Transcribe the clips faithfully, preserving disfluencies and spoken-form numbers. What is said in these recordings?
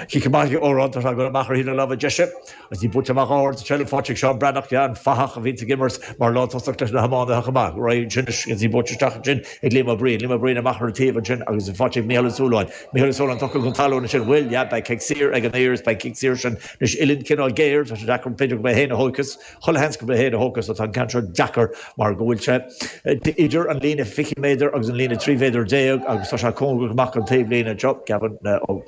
Cic amach ag Odhrán, tá sé ag dul amach ar thaobh na láimhe deise agus í buailte amach ard, seilbh faighte ag Seán Breathnach, yeah, an fathach a bhíonns ag imirt mar lántosach leis na hiománaithe chomh maith. Raghaidh ansin agus í buailte isteach ansin ag Liam Ó Briain, Liam Ó Briain amach ar an taobh ansin agus í faighte ag Mícheál Ó Súilleabháin. Mícheál Ó Súilleabháin tugtha chun talún ansin, bhuel, yeah, beidh cic saor ag an Uidhir is beidh cic saor sin anois uillinn cineál géar, tá sé deacair, b'fhéidir gurb é féin a thógfas, chuile sheans gurb é féin a thógfas, so tá an ceann seo deacair mar go bhfuil sé idir an líne fiche méadar agus an líne trí mhéadar déag agus tá sé cóngarach amach don taobhlíne anseo, Gavin Ó.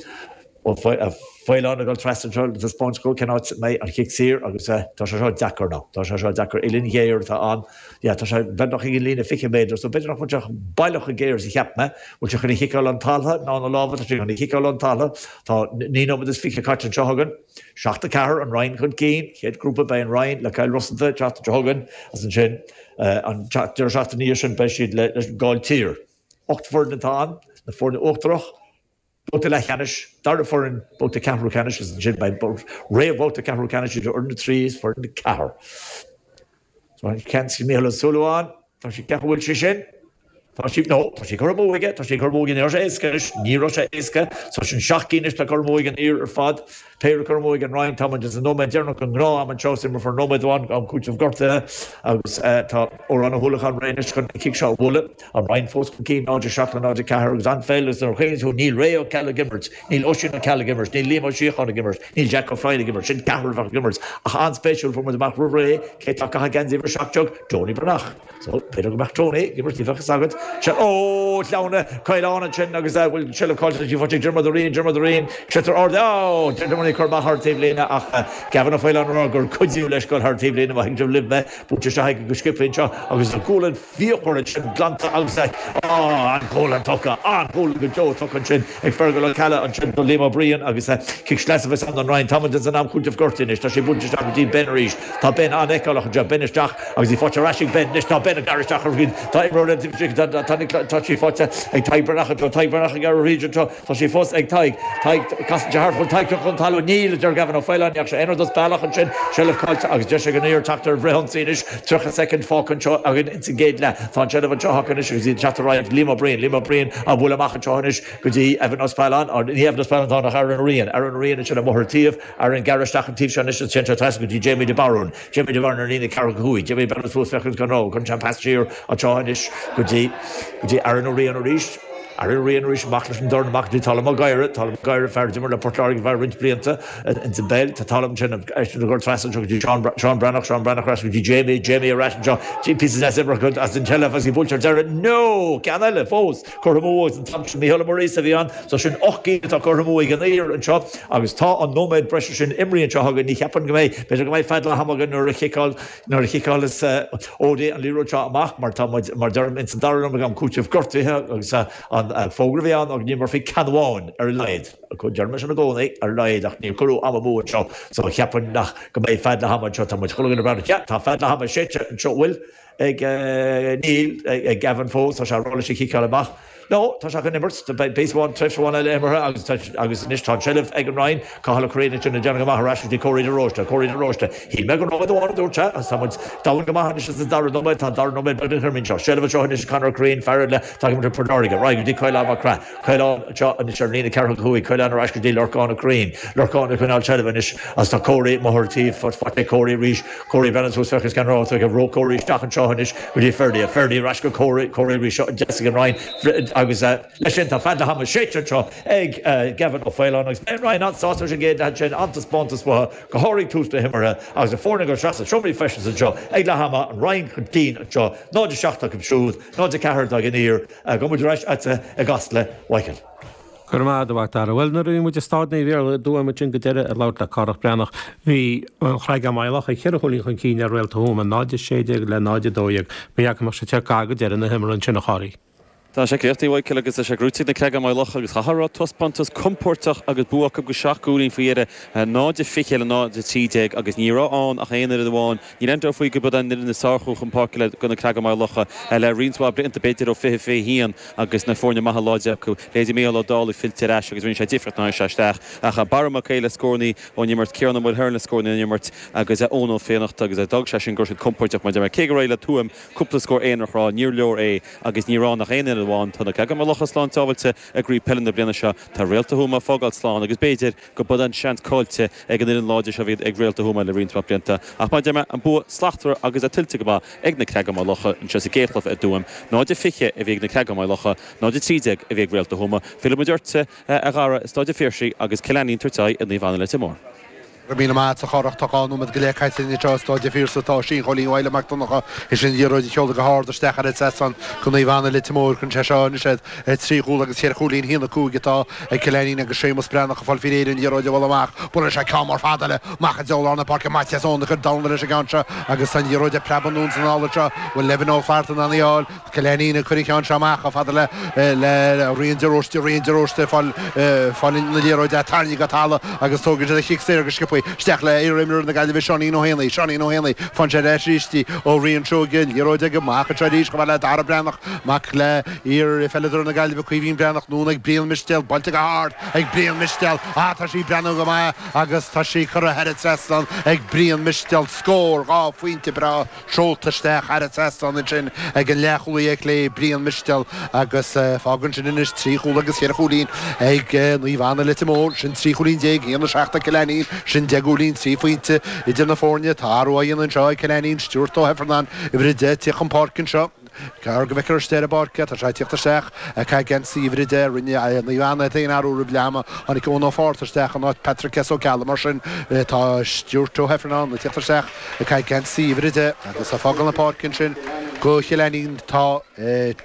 Ó Faoláin ag dul trasna anseo le taispeáint dó cén áit a mbeidh an chic saor agus tá sé seo deacair now. Tá sé seo deacair. Uillinn ghéar atá ann. Yeah, tá sé beagnach ag an líne fiche méadar so b'fhéidir nach bhfuil sé baileach chomh géar is a cheap mé. Bhfuil sé chun í chiceáil ón talamh ná na lámha? Tá sé chun í chiceáil ón talamh. Tá naoi nóiméad is fiche caite anseo againn. Seacht a ceathair, an Rinn chun cinn. Chéad ghrúpa beidh an Rinn le Cill Rosanta an tseachtain seo chugainn agus ansin an deireadh seachtaine ina dhiaidh sin beidh siad leis an Gailltír. Ocht bhfoireann atá ann, na foirne uachtarach. Babhta leathcheannais, dara foireann, babhta ceathrú ceannais agus ansin beidh réamhbhabhta ceathrú ceannais idir fhoireann a trí is foireann a ceathair. So an ceann sin Mícheál Ó Súilleabháin, tá sí ceapadh bhfuil sé sin? Tá sí, no, tá sí curtha amú aige, tá sí curtha amú aige, ní raibh sé éasca anois, ní raibh sé éasca. So sin seacht gcinn anois atá curtha amú ag an Uidhir ar fad. Péire curtha amú ag an Rinn, tá muid sa nóiméad deireanach den ghnáth-am anseo, is imreofar nóiméad amháin am cúiteamh gortaithe agus tá Odhrán Ó hUallacháin réidh anois chun an cic seo a bhualadh. An Rinn fós chun cinn, náid a seacht le náid a ceathair agus an-pheil agus nuair a chuimhníonn tú níl Ray Ó Ceallaigh ag imirt, níl Oisín Ó Ceallaigh ag imirt, níl Liam Ó Síocháin ag imirt, níl Jack Ó Floinn ag imirt, sin ceathrar a bheadh ag imirt ach an-spéisiúil fuair muid amach roimh ré cé atá ag caitheamh geansaí uimhir a seacht déag, Tony Breathnach. So, b'fhéidir go mbeadh Tony ag imirt, ní bheadh fhios agat. Sea, ó, sleamhna, caolán ansin agus eh, bhfuil seilbh caillte sí faighte ag Diarmuid Ó Riain, Diarmuid Ó Riain, sliotar ard, ó, Diarmuid ag cur amach thar an taobhlíne ach eh, Gavin Ó Faoláin ag rá gur cuidíodh leis dul thar an taobhlíne má thuigeann sibh libh mé, buailte isteach aige go sciobtha anseo agus an gualainn fíochmhar ansin glanta agus an ghualainn tugtha, an ghualainn go deo tugtha ansin ag Fergal Ó Ceallaigh ansin do Liam Ó Briain agus cic sleasa a bheas ann don Rinn. Tá muid ins an am cúitimh gortaithe anois. Tá sé buailte isteach go dtí Ben arís. Tá Ben an-fheiceálach anseo. Ben isteach agus í faighte ar ais ag Ben. Anois tá Ben ag gearradh isteach ar Tá imreoir eile tá sí faighte ag Tadhg Breathnach anseo. Tadhg Breathnach ag gearradh thríd anseo. Tá sí fós ag Tadhg. Tadhg, casann sé thart. Bhfuil Tadhg tugtha chun talún? Níl, a deir Gavin Ó Faoláin. Ní dheachaigh sé aon rud as bealach ansin. Seilbh caillte agus deis ag an Uidhir teacht ar bhfrithionsaí anois. Tríocha soicind fágtha anseo againn ins an gcéad leath. Tá an tseilbh anseo acu anois agus iad ag teacht ar aghaidh. Liam Ó Briain, Liam Ó Briain á bhualadh amach anseo anois go dtí Evan Ó Spealáin. Ní Evan Ó Spealáin atá ann ach Aaron Ó Riain. Aaron Ó Riain ansin amuigh ar an taobh. Aaron gearradh isteach an taobh seo anois agus téann sé trasna go dtí Jamie de Barún. Jamie de Barún ar líne ceathracha cúig. Jamie ag breathnú suas féachaint gan rogha. Cuireann sé an pas siar anseo anois go dtí go dtí Aaron Ó Riain arís. Aaron Ó Riain arís amach leis an dorn amach go dtí Talam Ó Gadhra. Talam Ó Gadhra, fear a d'imir le Port Láirge ar feadh roinnt blianta ins an bpeil. Tá Talam ansin eisean ag dul trasna anseo go dtí Seán Seán Breathnach, Seán Breathnach ar ais go dtí Jamie, Jamie ar ais anseo. Píosa deas imeartha as an tseilbh agus í buailte ar deireadh. No! Ceann eile fós curtha amú agus an t-am sin Mícheál Ó Muiríosa a bhí ann. So sin ocht gcinn atá curtha amú ag an Uidhir anseo agus tá an nóiméad breise sin imrithe anseo againn. Ní cheapaim go mbeidh, b'fhéidir go mbeidh fad le ham againn nuair a chiceáil nuair a chiceálas O'Dea an liathróid seo amach mar tá muid, mar deirim, ins an dara nóiméad am cúitimh gortaithe agus an fógra a bhí ann ná go n-imreofaí ceann amháin ar a laghad. Deirim é sin i gcónaí, ar a laghad, ach níor cuireadh am amú anseo so cheapfainn nach go mbeidh fad le ham anseo. Tá muid chuile dhuine ag breathnú, yeah, tá fad le ham séidte anseo, bhfuil? Ag, níl, ag Gavin fós, tá sé ag rá leis í chiceáil amach. No, tá sé chun imirt, beidh píosa amháin, tréimhse amháin eile imeartha agus tá, agus anois tá an tseilbh ag an Rinn, Cathal Ó Curraoin ansin ag déanamh go maith ar ais go dtí Córaí de Róiste, Córaí de Róiste, shíl mé gur nóiméad amháin a dúirt sé agus tá muid domhain go maith anois sa dara nóiméad, tá an dara nóiméad beagnach imithe anseo. Seilbh anseo anois ag Conor Ó Curraoin, fear eile atá ag imirt le Port Láirge, ar aghaidh go dtí Caolán Mac Craith, Caolán anseo anois ar an líne ceathracha cúig, Caolán ar ais go dtí Lorcán Ó Curraoin, Lorcán ag coinneáil seilbhe anois agus tá Córaí amuigh ar an taobh, faighte ag Córaí arís, Córaí ag breathnú suas féachaint cén rogha atá aige, ró Córaí isteach anseo anois go dtí Ferdia, Ferdia ar ais go Córaí, Córaí arís seo deas ag an Rinn agus leis sin tá fad le hama séidte anseo ag Gavin Ó Faoláin agus beidh an Rinn an-sásta leis an gcéad leath ansin, an-taispeántas uathu, go háirithe tús na himeartha agus na foirne ag dul isteach sna seomraí feistis anseo ag leath ama, an Rinn chun cinn anseo, náid a seacht acu siúd, náid a ceathair ag an Uidhir. Gabhfaidh muid ar ais agatsa i gCasla, Mhichael. Go raibh maith agat, a mhac Dara. Bhuel, nuair a bhí muid i Staid Naomh Iarlaith i dTuaim ansin go deireadh ag labhairt le Cárthach Breathnach, bhí an Chreagán Maigh Locha ceithre chúilín chun cinn ar Réalta Thuama, náid a sé déag le náid a dó dhéag. Ba dheacair go mbeadh sé te gar go deireadh na himeartha ansin, a Chárthaigh. Tá sé críochnaithe, a Mhichael, agus tá sé gnóite ag na Creagáin Maigh Locha agus chaithfeá a rá taispeántas compóirteach agus bua acu go seacht gcúilín faoi dheireadh, náid a fiche le náid a trí déag agus ní raibh ann ach aon fhoireann amháin. Níl aon dabht faoi gurb iad an fhoireann is fearr a chuaigh chun páirce le do na Creagáin Maigh Locha le roinnt mhaith blianta, b'fhéidir ó fiche fiche haon agus na foirne maithe láidre acu. Leithéidí Mícheál Ó Dálaigh fillte ar ais agus rinne sé difríocht nuair a tháinig sé isteach. Ach Barra Mac Aodha le scórannaí ón imirt, Ciarán Ó Maoilheirn le scórannaí ón imirt agus Eoin Ó Fiannachta agus d'fhág sé sin go raibh siad compóirteach mar deir mé. Cé gur éirigh le Tuaim cúpla scór aonarach a rá, níor leor é agus ní raibh ann ach aon fhoireann fhoireann amháin. Tá na Creaga Maigh Locha slán sábháilte i gcraobh peile na bliana seo. Tá Réalta Thuama ag fágáil slán agus b'fhéidir go b'in an seans caillte ag an fhoireann láidir seo a bhí ag Réalta Thuama le roinnt mhaith blianta. Ach mar a deir mé, an bua slachtmhar agus é tuillte go maith ag na Creaga Maigh Locha anseo sa gcéad chluiche i dTuaim. náid a fiche a bhí ag na Creaga Maigh Locha, náid a trí déag a bhí ag Réalta Thuama. Fillfidh muid ortsa, a Dhara, i Staid an Phiarsaigh agus Cill Ainnín ag tabhairt aghaidh ar Naomh Anna Leitir Móir. Go raibh míle maith agat a Chárthach. Tá dhá nóiméad go leith caite anseo i Staid an Phiarsaigh. Tá Oisín Chóilín Mhaidhle Mac Donncha théis an liathróid a sheoladh go hard isteach thar an trasnán go Naomh Anna Leitir Móir. Cuireann sé seo anois iad ar trí chúl agus cheithre chúilín. A haon a cúig atá ag Cill Ainnín agus Séamus Breathnach ag fáil faoi réir an liathróid a bhualadh amach. Buaileann sé ceann mór fada eile amach i dtreo lár na páirce. Maitias Ó ag cur Domhnall leis an gceann seo agus tá an liathróid ag preabadh anonn is anall anseo. Bhfuil Evan Ó Flatharta in ann í a fháil? Cill Ainnín ag cur an cheann seo amach chomh fada le le Rian de Róiste, Rian de Róiste ag fáil fáil na liathróide tarraingthe go talamh agus tógann siad an chic saor go sciobtha isteach le iar-imreoir na Gaillimhe Seáinín Ó hÉanaí, Seáinín Ó Héanaí, faigheann sé ar ais arís í ó Rian Seoige, an liathróid aige amach anseo arís chomh fada le Dara Breathnach, mac le iar-pheileadóir na Gaillimhe Caoimhín Breathnach, anonn ag Brian Mistéal, buailte go hard ag Brian Mistéal, ah tá sí ag breathnú go maith agus tá sí curtha thar an trasnán ag Brian Mistéal, scór dhá phointe breá. Seolta isteach thar an trasnán ansin ag an leathchúlaí ar chlé, Brian Mistéal, agus fágann sin anois trí chúl agus cheithre chúilín ag Naomh Anna Leitir Móir. Sin trí chúilín déag, a haon a seacht ag Cill Ainnín, sin deich gcúilín, trí phointe idir na foirne. Tá athrú á dhéanamh anseo ag Cill Ainnín, Stuart Ó hIfearnáin, uimhir a deich, ag tíocht chun páirce anseo. Gearr go bhfeicfear istigh ar an bpáirc é. Tá sé ag tíocht isteach ag caitheamh geansaí uimhir a deich. Rinne Naomh Anna iad féin athrú roimh leath ama. Tháinig Eoin Ó Fátharta isteach in áit Patrick S. Ó Ceallaigh. Mar sin, tá Stuart Ó hIfearnáin ag tíocht isteach ag caitheamh geansaí uimhir a deich agus ag fágáil na páirce ansin go Chill Ainnín tá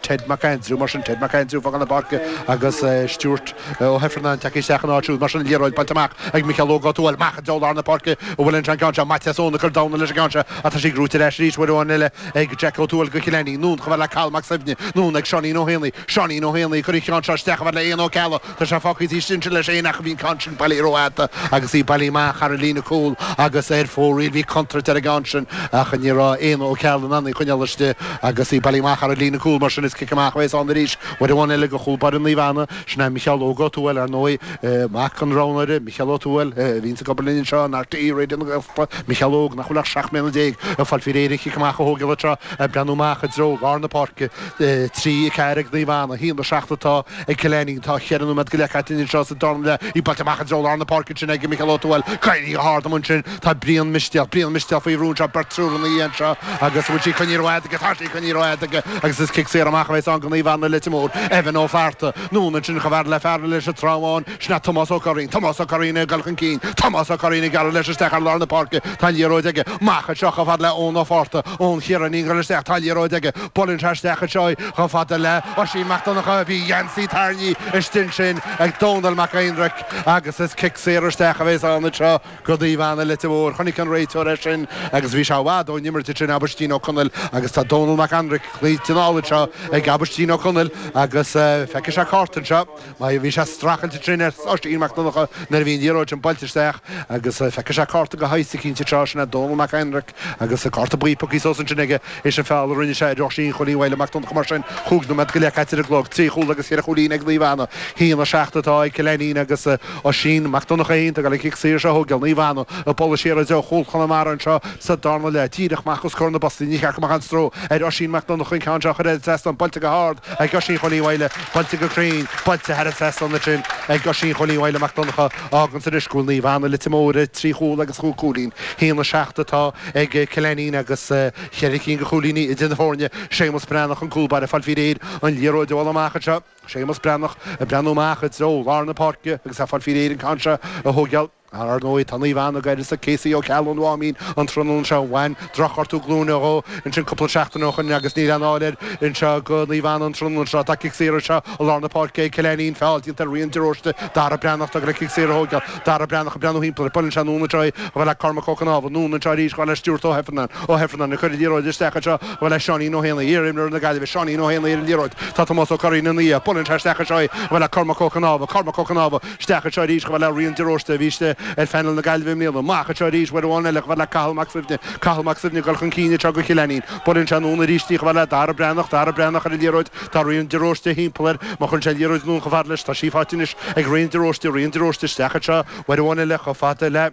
Ted Mac Aindriú. Mar sin, Ted Mac Aindriú ag fágáil na páirce agus Stuart Ó hIfearnáin tagtha isteach ina áit siúd. Mar sin, an liathróid buailte amach ag Micheál Óg Ó Tuathail. Amach i dtreo lár na páirce a bhfuil an ceann seo. Maitias Eoin ag cur Domhnall leis an gceann seo ach tá sí gnóite ar ais arís uair amháin eile ag Jack Ó Tuathail go Cill Ainnín. Anonn chomh fada le Cathal Mac Suibhne. Anonn ag Seáinín Ó hÉanaí. Seáinín Ó Héanaí ag cur an cheann seo isteach chomh fada le Éanna Ó Ceallaigh. Tá sé fágtha istigh ansin leis féin ach bhí an ceann sin bailithe rófhada agus í bailithe amach thar an líne cúil agus ar fóraoil. Bhí contúirt ar an gceann sin ach ní raibh Éanna Ó Ceallaigh in ann í a choinneáil istigh agus í bailithe amach thar an líne cúil. Mar sin is cic amach a bheas ann arís uair amháin eile do chúl báire Naomh Anna. Sin é Micheál Óg Ó Tuathail, ar ndóigh, mac an roghnóra, Micheál Ó Tuathail, a bhíonns ag obair linn anseo in RTÉ Raidió na Gaeltachta. Micheál Óg, nach bhfuil ach seacht mbliana déag, ag fáil faoi réir an chic amach a thógáil anseo, ag breathnú amach i dtreo lár na páirce. Trí, a ceathair ag Naomh Anna, a haon, a seacht atá ag Cill Ainnín. Tá cheithre nóiméad go leith caite anseo sa darna leath. Í buailte amach i dtreo lár na páirce ansin ag Micheál Ó Tuathail. Éirithe go hard amuigh ansin. Tá Brian Mistéal, Brian Mistéal faoi bhrú anseo, beirt triúr ina dhiaidh anseo agus an bhfuil sí coinnithe rófhada aige? Tá sí coinnithe rófhada aige agus is cic saor amach a bheas ann do Naomh Anna Leitir Móir. Evan Ó Flatharta, anonn ansin chomh fada le fear leis an Trá Bháin, sin é Tomás Ó Curraoin. Tomás Ó Curraoin ag dul chun cinn. Tomás Ó Curraoin ag gearradh leis isteach ar lár na páirce. Tá an liathróid aige. Amach anseo chomh fada le Eoin Ó Fátharta. Eoin Chiaráin ag dul isteach. Tá an liathróid aige. Buaileann sé isteach anseo í chomh fada le Oisín Mac Donncha. Bhí geansaí tarraingthe istigh ansin ag Dónal Mac Aonraic agus is cic saor isteach a bheas ann anseo go Naomh Anna Leitir Móir. Chonaic an réiteoir é sin agus bhí sé i bhfad ón imirt ansin, Aibhistín Ó Conaill agus tá Dónal Mac Aonraic glaoite anall anseo ag Aibhistín Ó Conaill agus feicfidh sé cárta anseo. Mar bhí sé ag streachailt ansin ar Oisín Mac Donncha nuair a bhí an liathróid sin buailte isteach agus feicfidh sé cárta de shaghas eicínt anseo, sin é Dónal Mac Aonraic agus cárta buí pioctha suas ansin aige théis an feall a rinne sé ar Oisín Chóilín Mhaidhle Mac Donncha. Mar sin, chúig nóiméad go leith caite ar an gclog, trí chúl agus cheithre chúilín ag Naomh Anna, a haon a seacht atá ag Cill Ainnín agus Oisín Mac Donncha féin ag dul an cic saor seo a thógáil. Naomh Anna ag bualadh siar i dtreo chúl Chonamara anseo sa darna leath, díreach amach os comhair na bpostaí. Ní cheart go mbeadh aon stró ar Oisín Mac Donncha an ceann seo a chur thar an trasnán, buailte go hard ag Oisín Chóilín Mhaidhle, buailte go cruinn, buailte thar an trasnán ansin ag Oisín Chóilín Mhaidhle Mac Donncha. Fhágann anois go bhfuil Naomh Anna Leitir Móir ar trí chúl agus chúig chúilín. A haon a seacht atá ag Cill Ainnín agus cheithre cinn de chúilíní idir na foirne. Séamus Breathnach an cúl báire ag fáil faoi réir an liathróid a bhualadh amach anseo. Séamus Breathnach ag breathnú amach i dtreo lár na páirce agus é ag fáil faoi réir an ceann seo a thógáil. Ar ndóigh, tá Naomh Anna ag uireasa Casey Ó Ceallaigh ón Mháimín an tráthnóna seo. Bhain drochghortú glúine dhó ansin cúpla seachtain ó shoin agus níl aon fháil air anseo go Naomh Anna an tráthnóna seo. Tá cic saor anseo i lár na páirce ag Cill Ainnín. Feall déanta ar Rian de Róiste. Dara Breathnach ag dul an cic saor a thógáil. Dara Breathnach ag breathnú thimpeall air. Buaileann sé anonn anseo í chomh fada le Cormac Ó Cnámha. Anonn anseo arís chomh fada le Stuart Ó hIfearnáin. Ó hIfearnáin ag cur an liathróid isteach anseo chomh fada le Seáinín Ó hÉanaí. Iar-imreoir na Gaillimhe, Seáinín Ó Héanaí ar an liathróid. Tá Tomás Ó Curraoin ina dhiaidh. Buaileann sé isteach anseo í chomh fada le Cormac Ó Cnámha. Cormac Ó Cnámha isteach anseo arís chomh fada le Rian de Róiste a bhí istigh ar phainéal na Gaillimhe i mbliana. Amach anseo arís uair amháin eile chomh fada le Cathal Mac Suibhne. Cathal Mac Suibhne ag dul chun cinn anseo go Chill Ainnín. Buaileann sé anonn arís í chomh fada le Dara Breathnach. Dara Breathnach ar an liathróid. Tá Rian de Róiste thimpeall air. Má chuireann sé an liathróid anonn chomh fada leis, tá sí faighte anois ag Rian de Róiste. Rian de Róiste isteach anseo uair amháin eile chomh fada le.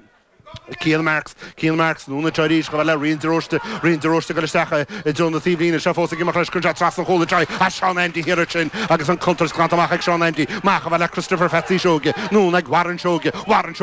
Cian Marks Cian Marks anonn arís go le Rian de Róiste Rian de Róiste go isteach i dtreo na taobhlíne seo fós ag imeacht leis chun trasna an chúil try a Seán Andy thiar sin agus an contúirt glanta amach ag Seán Andy amach le Christopher Phatsy Seoige anonn ag Warren Seoige Warren